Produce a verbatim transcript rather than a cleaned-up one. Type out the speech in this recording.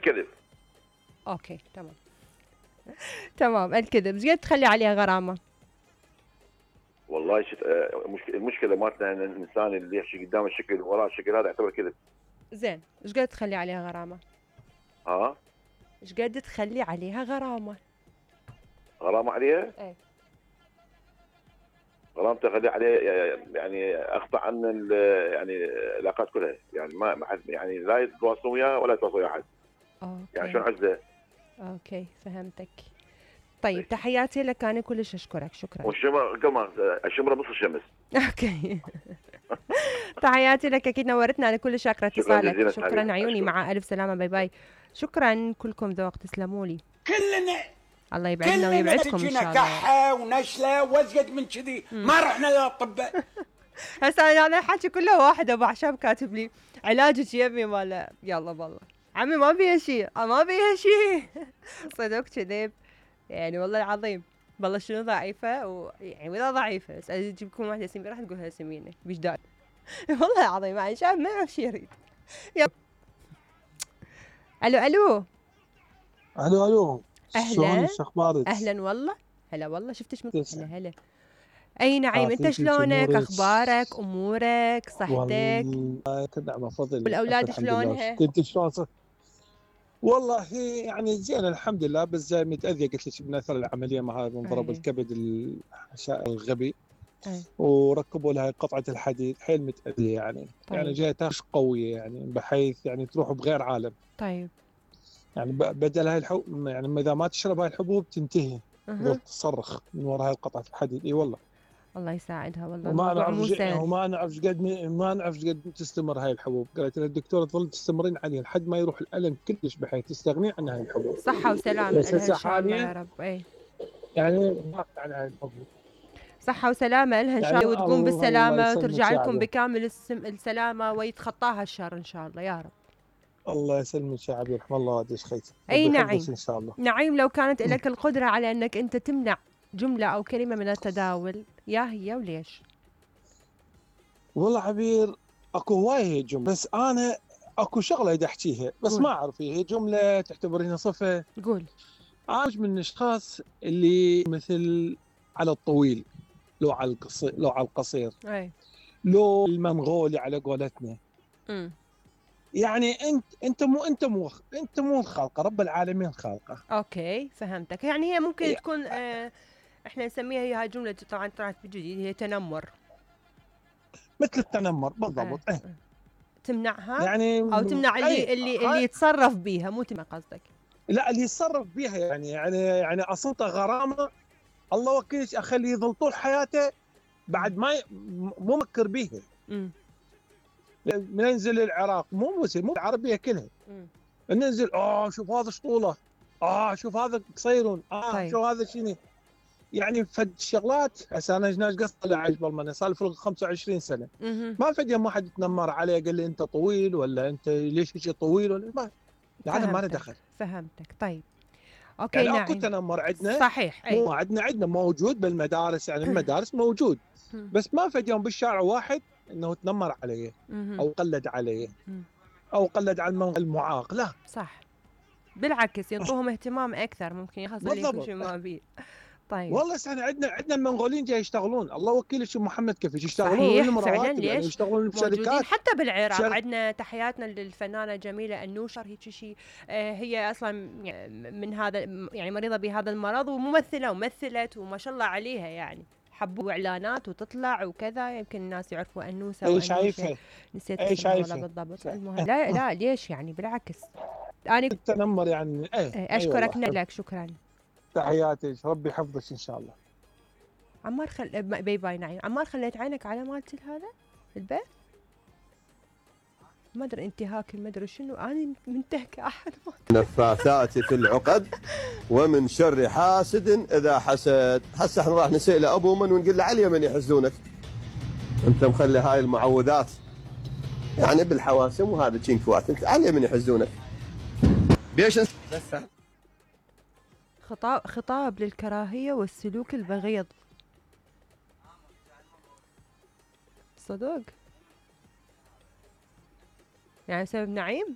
الكذب. اوكي تمام. تمام الكذب، ايش قد تخلي عليها غرامه؟ والله شت... المشكله مالتنا ان الانسان اللي يحكي قدام الشكل وراء الشكل هذا يعتبر كذب. زين، ايش قد تخلي عليها غرامه؟ ها؟ ايش قد تخلي عليها غرامه؟ غرامه عليها؟ اي غرامته خلي عليه يعني اقطع عن يعني العلاقات كلها، يعني ما ما حد يعني لا يتواصل وياه ولا يتواصل ويا احد. اوكي يعني شلون عزله؟ اوكي فهمتك. طيب تحياتي لك، انا كلش اشكرك، شكرا. والشمر كمان الشمره نص الشمس. اوكي. تحياتي لك، اكيد نورتنا، انا كلش شاكره اتصالك. شكرا, شكرا عيوني، مع الف سلامه، باي باي. شكرا، كلكم ذوق، تسلموا لي. كلنا الله يبعدنا ويبعدكم ان شاء الله. كحه ونشله وازقد من كذي، ما رحنا للاطباء. هسه انا الحكي كله واحد، ابو عشاب كاتب لي علاجك يمي ماله، يلا والله عمي ما بيها شيء، ما بيها شيء. صدق كذب يعني، والله العظيم. والله شنو ضعيفه و... يعني ولا ضعيفه، بس اجيب لكم واحده سمينه راح تقولها سمينه بيش داعي. والله العظيم يعني شاب ما يعرف شيء يريد. الو الو الو الو اهلا، شو اخبارك؟ اهلا والله، هلا والله، شفتش من هلا هلا. اي نعيم، انت شلونك؟ اخبارك، امورك، صحتك؟ والله نعم فضل. والاولاد شلونها؟ انت شلون؟ والله يعني زين الحمد لله، بس زي متاذيه قلت لك من اثر العمليه مع هذا انضرب الكبد الغبي. أي. وركبوا لها قطعه الحديد، حيل متاذيه يعني. طيب. يعني جايه تاخذ قويه يعني، بحيث يعني تروح بغير عالم. طيب يعني بدل هاي الحبوب، يعني اذا ما تشرب هاي الحبوب تنتهي. أه. تصرخ من وراء هاي القطعه الحديد. اي والله الله يساعدها والله. وما نعرف وما نعرف قد ما نعرف قد تستمر هاي الحبوب. قالت لها الدكتوره تظل تستمرين عليها لحد ما يروح الالم كلش، بحيث تستغنين عن هاي الحبوب. صحه وسلامه لها ان شاء الله يا رب. اي يعني ضغط عن هاي الحبوب. صحه وسلامه لها ان شاء الله، وتقوم بالسلامه وترجع لكم بكامل السلامه ويتخطاها الشر ان شاء الله يا رب. الله يسلمك شعبي، يرحم الله والديك خيتي. اي نعيم ان شاء الله. نعيم، لو كانت لك القدره على انك انت تمنع جمله او كلمه من التداول، يا هي وليش؟ والله عبير اكو هوايه جمله، بس انا اكو شغله بدي احكيها بس قول. ما اعرف هي جمله تعتبرينها صفه. قول. انا من الاشخاص اللي مثل على الطويل، لو على القصير، لو على القصير، اي لو المنغولي على قولتنا. امم يعني انت انت مو انت مو انت مو الخالقه، رب العالمين خالقه. اوكي فهمتك. يعني هي ممكن إيه. تكون اه احنا نسميها، هي هاي جمله طبعا طلعت بالجديد، هي تنمر، مثل التنمر بالضبط. اه. اه. تمنعها يعني او تمنع اللي ايه. اللي اللي يتصرف بيها، مو تمنع قصدك؟ لا اللي يتصرف بيها يعني يعني يعني اصلته غرامه. الله وكيلك اخليه يظل طول حياته بعد ما ي... مو مفكر بيها. امم ننزل العراق، مو مسلم، مو العربيه كلها. امم ننزل اه شوف هذا شطوله، اه شوف هذا قصيرون، اه طيب. شوف هذا شنو. يعني فد شغلات. هسه انا ايش قصه لعيش بالمانيا صار لي فوق خمسة وعشرين سنه. مم. ما فد يوم واحد تنمر عليه قال لي انت طويل ولا انت ليش هيك طويل ولا ما. هذا ما له دخل. فهمتك. طيب اوكي يعني نعم. اكو تنمر عندنا صحيح. مو عندنا عندنا موجود بالمدارس، يعني المدارس موجود. بس ما فد يوم بالشارع واحد انه تنمر علي او قلد علي او قلد على المعاق، لا صح، بالعكس ينطوهم اهتمام اكثر، ممكن يحصل لكم شيء ما بيه. طيب والله احنا عندنا عندنا المنغوليين جاي يشتغلون، الله وكيل شو محمد كيف يشتغلون. صحيح فعلا. ليش يعني يشتغلون بشركات حتى بالعراق. شر... عندنا تحياتنا للفنانه جميله النوشر، هيك شيء آه هي اصلا من هذا يعني مريضه بهذا المرض، وممثله ومثلت وما شاء الله عليها، يعني حبوا اعلانات وتطلع وكذا، يمكن الناس يعرفوا انوسه وانوشه. شايفه نسيت اسمها بالضبط. المهم لا لا ليش يعني بالعكس انا التنمر يعني ايه. اشكرك أيوة لك، شكرا، تحياتي، ربي يحفظك ان شاء الله. عمار خل باي باي نعيم. عمار خليت عينك على مالتي هذا البيت، ما ادري انتهاك ما ادري شنو، انا منتهكه احد. نفاثات في العقد ومن شر حاسد اذا حسد. هسه احنا راح نسال ابو من ونقول له علي من يحزنونك، انت مخلي هاي المعوذات يعني بالحواسم وهذا تشينكوات، انت علي من يحزنونك. بيش خطاب خطاب للكراهيه والسلوك البغيض. صدق يعني بسبب نعيم.